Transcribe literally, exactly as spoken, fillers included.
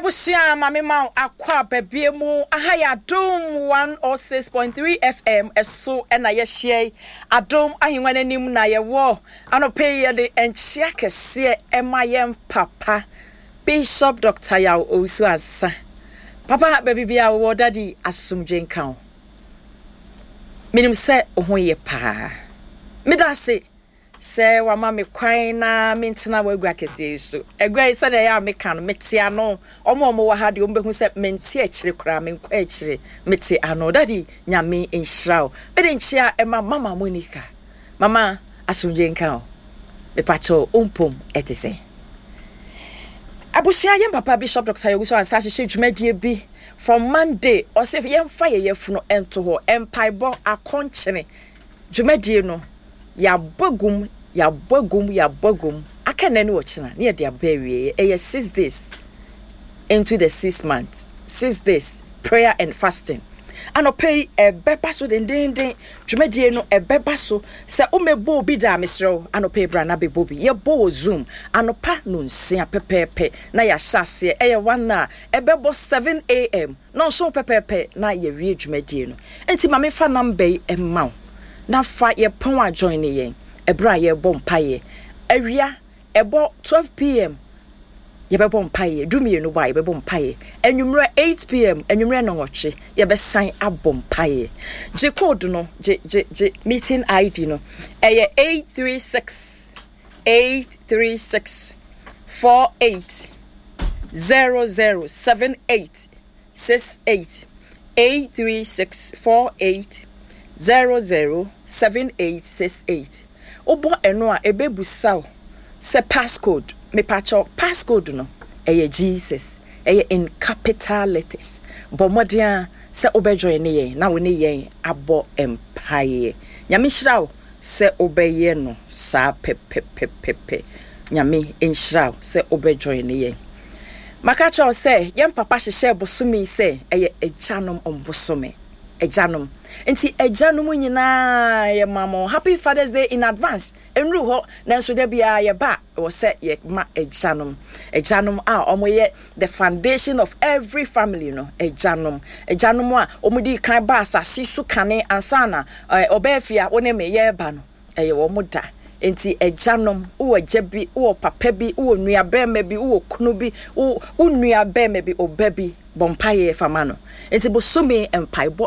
Abusua, ma me ma akɔ ababie mu. Aha yɛ Adom one oh six point three F M ɛso ɛna yɛhyia yi. Adom ahengua n'anim na yɛwɔ. Anɔpɛ yi yɛde nkyea kɛseɛ ɛma yɛn papa Bishop Doctor Yaw Owusu Ansa. Papa, baabi bia wowɔ, Daddy, asomdwe nka wo. Menim sɛ wo ho yɛ paa. Meda ase sɛ wama me kwan na mentena w'agua kɛseɛ yi so. Agua yi, sɛdeɛ ɛyɛ a meka no, mete ano. Ɔmo a ɔmo wɔ ha deɛ, ɔmo bɛhu sɛ mente akyire koraa, menkɔ akyire, mete ano. Daddy, Nyame nhyira wo. Mede nkyea ɛma Mama Monica. Mama, asomdwe nka wo. Mepakyɛw, wompom ɛte sɛ? Abusua, yɛn papa Bishop Doctor Yaw Owusu Ansa ahyehyɛ dwumadie bi from Monday. Ɔsɛ yɛmfa yɛ yɛfunu nto hɔ, mpaebɔ akɔnkyene dwumadie no. Yɛabɔ gum, yɛabɔ gum, yɛabɔ gum. Aka nnɛ ne wɔkyena ne yɛde aba awie. Ɛyɛ six days into the six months, six days prayer and fasting. Anɔpɛ yi ɛbɛba so dendenden. Dwumadie no ɛbɛba so. Sɛ womɛbɔ obi da a, mesrɛ wo, anɔpɛ yi bra na bɛbɔ bi. Yɛbɔ wɔ Zoom anɔpa no nsia pɛpɛɛpɛ na yɛahyɛ aseɛ. Ɛyɛ one a ɛbɛbɔ seven a m na nso pɛpɛɛpɛ na yɛwie dwumadie no. Nti ma mefa number yi ɛma wo na fa yɛpɔn a join ne yɛn ɛberɛ a yɛrebɔ mpaeɛ. Awia ɛbɔ twelve p m yɛbɛbɔ mpaeɛ, dumienu bɔ a yɛbɛbɔ mpaeɛ. Anwummerɛ eight p m, anwummerɛ nɔnwɔtwe, yɛbɛsan abɔ mpaeɛ. Gye code no, gye gye gye meeting I D no. Ɛyɛ eight three six eight three six four eight zero zero seven eight six eight, eight three six four eight zero zero seven eight six eight. Wobɔ ɛno a, ɛbɛbusa wo sɛ passcode. Mepakyɛw, passcode no ɛyɛ Jesus, ɛyɛ in capital letters. Bɔ mmɔden a sɛ wobɛjoin ne yɛn na wo ne yɛn abɔ mpaeɛ. Nyame hyira wo sɛ wobɛyɛ no saa pɛpɛpɛpɛpɛ. Nyame nhyira wo sɛ wobɛjoin ne yɛn. Maka kyerɛ wo sɛ yɛn papa hyehyɛ bosome sɛ ɛyɛ agyanom mbosome, agyanom. Nti agyanom nyinaa, yɛma mo happy Father's Day in advance. Nnuru hɔ, nanso da biara yɛba, ɛwɔ sɛ yɛma agyanom, agyanom a wɔyɛ the foundation of every family no, agyanom, agyanom a wɔde kan ba asase so kane ansa na ɔbɛɛ fia wo ne me yɛreba no, ɛyɛ wɔn da. Nti agyanom, wowɔ agya bi, wowɔ papa bi, wowɔ nua bɛrima bi, wowɔ kunu bi, wo nua bɛrima bi, ɔba bi, bɔ mpaeɛ fama no. Nti bosome mpaebɔ.